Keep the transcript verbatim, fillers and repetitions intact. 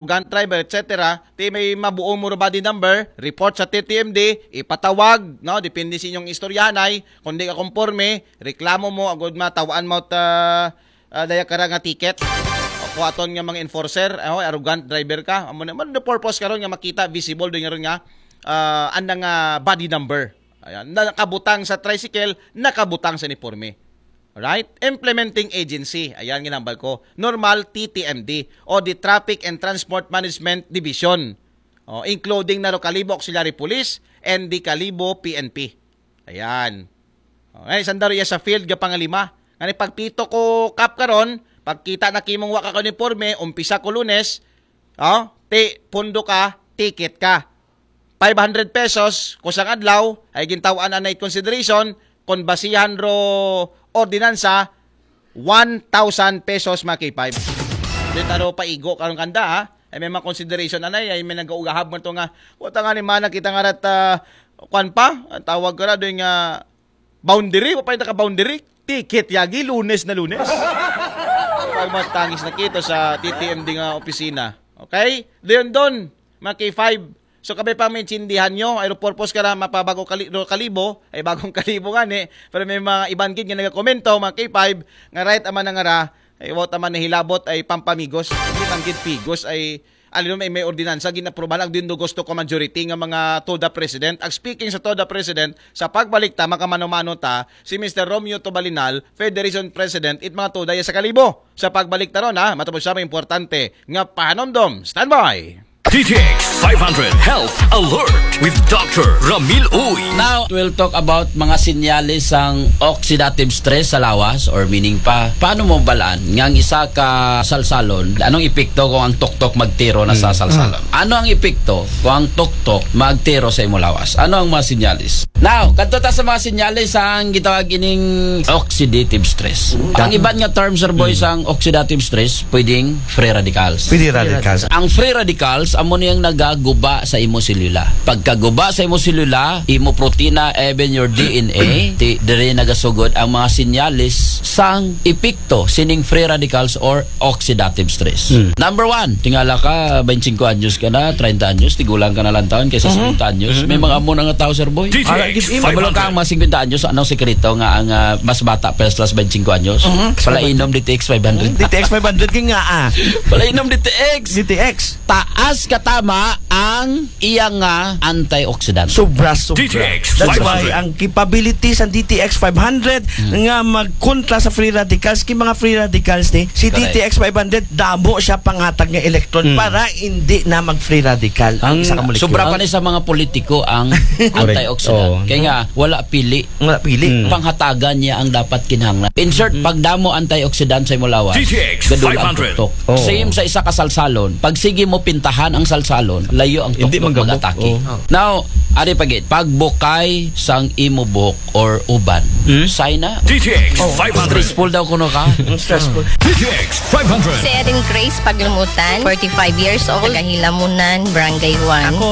arrogant driver, et cetera, ti may mabuo mo body number, report sa T T M D, ipatawag, no? Depende sa inyong istoryahanay, kung di ka konforme, reklamo mo, agud matawan mo ta, ah, daya kara nga ticket. O kuhaton nga mga enforcer, oh, arrogant driver ka. Amo na man the purpose karon nga makita visible din nga ron nga ah, anang ah, body number. Ayan, nakabutang sa tricycle, nakabutang sa uniforme. Right? Implementing agency. Ayan, ginambal ko. Normal T T M D o the Traffic and Transport Management Division. Oh, including na ro Kalibo Auxiliary Police and the Kalibo P N P. Ayan. Oh, ngayon, sandaro iya sa field nga pangalima. Ngani pagpito ko kap karon, pagkita na kimong wa ka uniforme, umpisa ko Lunes, oh, ti pundo ka, ticket ka. Five hundred pesos kusang adlaw ay gintawan anay consideration, kon basihan ro ordinansa, one thousand pesos, mga K five. Di taro paigo karon kanda, ha? Ay may mga consideration anay, ay may nagaugahab mo to nga, wata nga ni mana kita nga rat, ah, kwan pa, ang tawag ka na doon nga boundary, wa pa yung naka-boundary. Ticket yagi, Lunes na Lunes. Pag matangis na kito sa T T M D nga opisina. Okay? Doon doon, mga K five. So, kabay pa maintindihan nyo, ay purpose ka na mapabago kali, ro kalibo, ay bagong kalibo nga ni, pero may mga iban gid nga nagakomento, mga K five, nga right aman na nga ra, ay wata man nahilabot ay pampamigos. Hindi man gid pigos ay alin may, may ordinansa, ginaprubahan, agdin do gusto ko majority nga mga TODA president. Ag speaking sa TODA president, sa pagbalik ta, makamano-mano ta, si Mister Romeo Tobalinal, Federation President, it mga TODA ya sa Kalibo. Sa pagbalik ta ron, ha, matapos siya may importante nga pahanomdom. Standby! D T X five hundred Health Alert with Doctor Ramil Uy. Now, we'll talk about mga sinyalis sang oxidative stress sa lawas, or meaning pa, paano mo balaan nga ang isa ka salsalon, anong epekto kung ang tuktok magtiro na sa salsalon? Ano ang epekto kung ang tuktok magtiro sa imo lawas? Ano ang mga sinyalis? Now, kadto ta sa mga sinyalis ang gitawag ining oxidative stress. Ang iban nga term, sir boy, sang oxidative stress, pwedeng free radicals. Free radicals. Ang free radicals, amo niyang nagaguba sa imo selula. Pagkaguba sa imo selula, imo protina, even your D N A, ti, dire nagasugod ang mga sinyalis sang epekto sining free radicals or oxidative stress. Number one, tingala ka, twenty-five anyos ka na, treinta anyos, tigulang ka na lang taon kaysa singkwenta anyos. May mga amo na nga tao, sir boy. Ara, gid, Pabalo ka ang mga singkwenta anyos, anong sekreto nga ang ah, mas bata pa sa twenty-five anyos? Palainom D T X five hundred. D T X five hundred kay nga ah. Palainom D T X. D T X. Taas katama ang iyang nga antioxidant. Sobra, sobra. D T X That's why five hundred. Ang capability sa D T X five hundred nga magkontra sa free radicals, kay mga free radicals ni, si Correct. D T X five hundred damo siya pangatag nga electron para hindi na mag-free radical ang, Ang isa ka molecule. Sobra pa ni sa mga politiko ang antioxidant. Oo. Kaya nga, wala pili. Nga pili. Panghatagan niya ang dapat kinahanglan. In short, pagdamo antioxidant sa imong lawas, D T X gadol ang five hundred. tuktok. Oo. Same sa isa ka salsalon. Pag sige mo pintahan ang salsalon, layo ang Hindi tuktok magabok. mag-atake. Oo. Now, ari pa gid, pagbukay sang imo buhok or uban. Sign na. D T X five hundred. Stressful daw kuno ka. Stressful. D T X five hundred. Si Erin Grace Paglumutan, forty-five years old, taga Hilamunan, Barangay one. Ako